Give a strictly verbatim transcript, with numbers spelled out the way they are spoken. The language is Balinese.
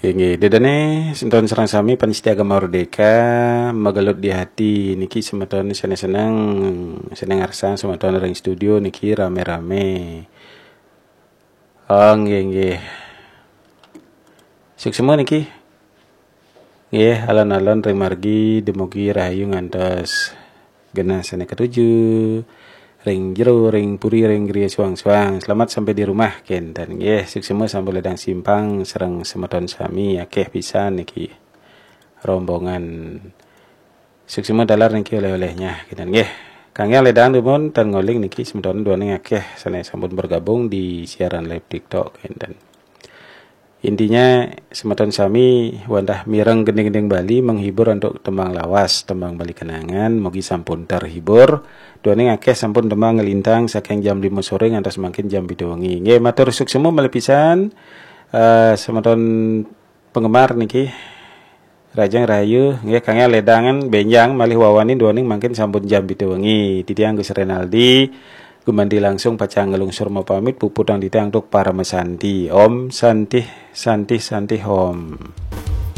Inggih, dedene semeton sareng sami panitia Gema Merdeka, magelut di hati niki semeton sene seneng, seneng arsang semeton ring studio niki rame-rame. Oh, nggih, nggih. Suksma niki. Nggih, alon-alon ring margi dumugi rahayu ngantos genah sane katuju. Ring jero, ring puri, ring griya suang-suang. Selamat sampai di rumah kenten. Nggih, suksma sampun ledang simpang sareng semeton sami, akeh pisan niki rombongan. Suksma taler niki oleh-olehnya kenten nggih. Kangge ledang dumun tan ngoling niki semeton duaning akeh sane sampun bergabung di siaran live TikTok kenten. Intinya semeton sami wantah mireng gending-gending Bali, menghibur antuk tembang lawas, tembang Bali kenangan, mugi sampun terhibur. Duaning akeh sampun tembang nglintang saking jam lima sore ngantos mangkin jam pitu wengi. Nggih, matur suksma malih pisan. Eh, semeton penggemar niki, rahajeng rahayu nggih, kangge ledangan benjang malih wawani duaning mangkin sampun jam pitu wengi. Titiang Gus Renaldi gumanti langsung pacang nglungsur mapamit, puputang titiang antuk parama santi. Om Santih, Santih, Santih Om.